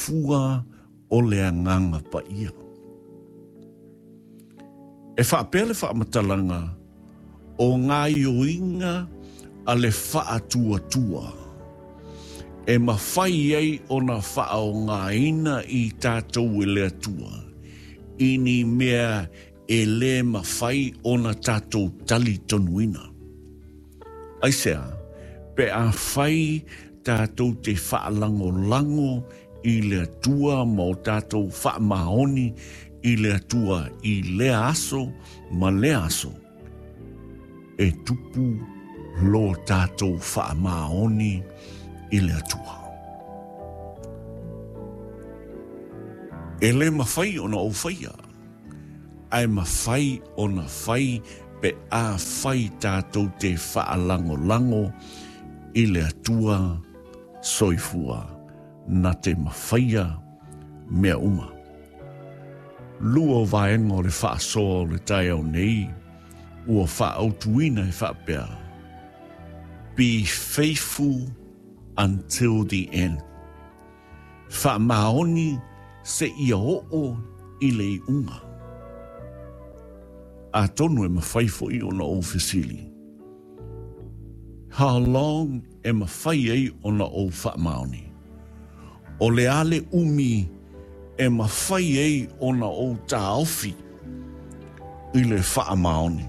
soifua o le Agaga Paia. E faapea le faamatalaga o gaoioiga a le faatuatua e mafai ai ona faaaogaina i tatou e le Atua i ni mea e lē mafai ona tatou talitonuina. Aisea? Pe afai tatou te faalagolago i le Atua ma o tatou faamaoni i le Atua i lea aso ma lea aso, e tupu lo tatou faamaoni i le Atua. E lē mafai ona ou faia, ae mafai ona fai pe afai tatou te faalagolago i le Atua soifua na te mafaia mea uma. Lua o vaega o le faasoa o le taeao nei ua faaautuina e faapea, Be faithful until the end. Faamaoni seia oo i le iuga. Atonu e mafai foi ona ou fesili, How long e mafai ai ona ou faamaoni? O le a le umi e mafai ai ona ou taofi i le faamaoni?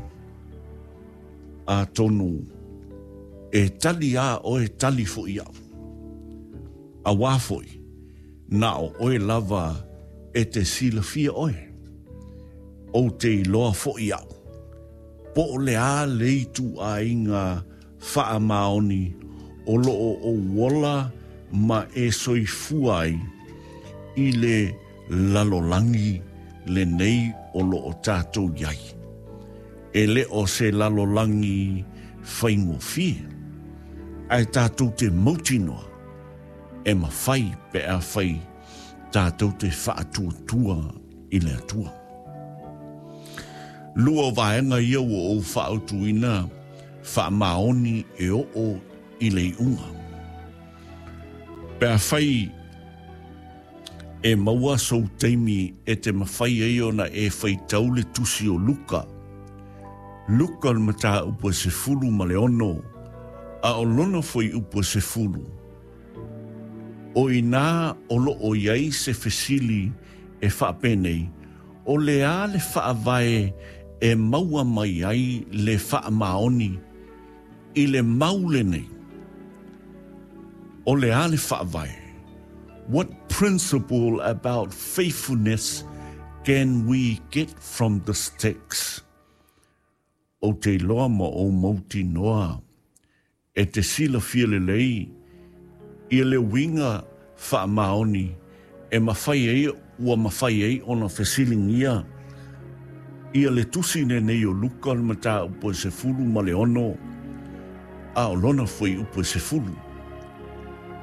Atonu e tali a oe tali foi au. Auā foi, na o oe lava e te silafia oe. Ou te iloa foi au, po o le a le ituaiga faamaoni o lo o ou ola ma e soifua ai i le lalolagi lenei o lo o tatou i ai. E le o se lalolagi faigofie, ae tatou te mautinoa e mafai pe afai tatou te faatuatua i le Atua. Lua o vaega ia ua ou faautuina faamaoni e oo i le iuga. Pe afai e maua sou taimi e te mafai ai ona e faitau le tusi o Luka, Luka o le mataupu e 16, a o lona fuaiupu e 10, o i inā o lo o i ai se fesili e faapenei, O le a le faavae e maua mai ai le faamaoni i le mau lenei? O le a le faavae? What principle about faithfulness can we get from this text? Ou te iloa ma ou mautinoa e te silafia lelei ia le uiga faamaoni e mafai ai ua mafai ai ona fesiligia ia le tusi lenei o Luka le mataupu e 16 a o lona fuaiupu e 10.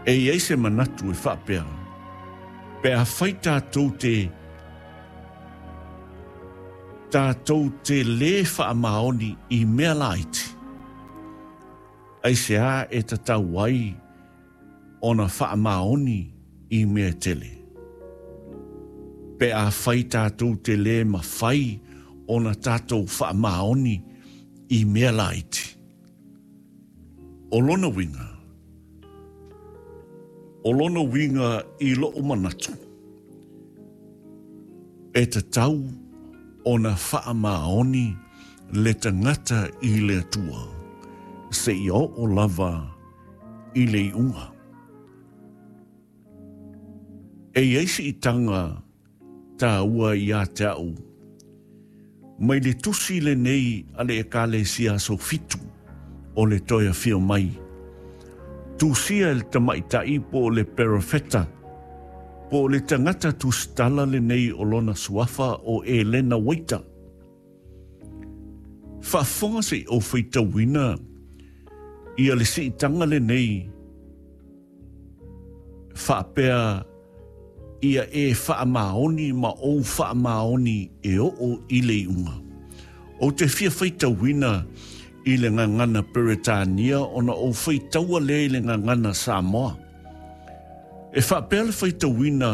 E i ai se manatu e faapea, pe afai tatou te tatou te lē faamaoni i mea laiti, aisea e tatau ai ona faamaoni i mea tele? Pe afai tatou te lē mafai ona tatou faamaoni i mea laiti. O lona uiga, o lona uiga i lo'u manatu, e tatau ona faamaoni le tagata i le Atua seia oo lava i le iuga. E i ai siitaga tāua iā te au mai le tusi lenei a le Ekalesia Aso Fitu o le Toe Afio Mai. Tusia e le tamaitai po o le perofeta, po o le tagata tusitala lenei o lona suafa o Elena Waita. Faafofoga se i ou faitauina ia le siitaga lenei faapea ia e faamaoni ma ou faamaoni e oo i le iuga. Ou te fia faitauina i le gagana Peretania ona ou faitaua lea i le gagana Samoa. E faapea le faitauina.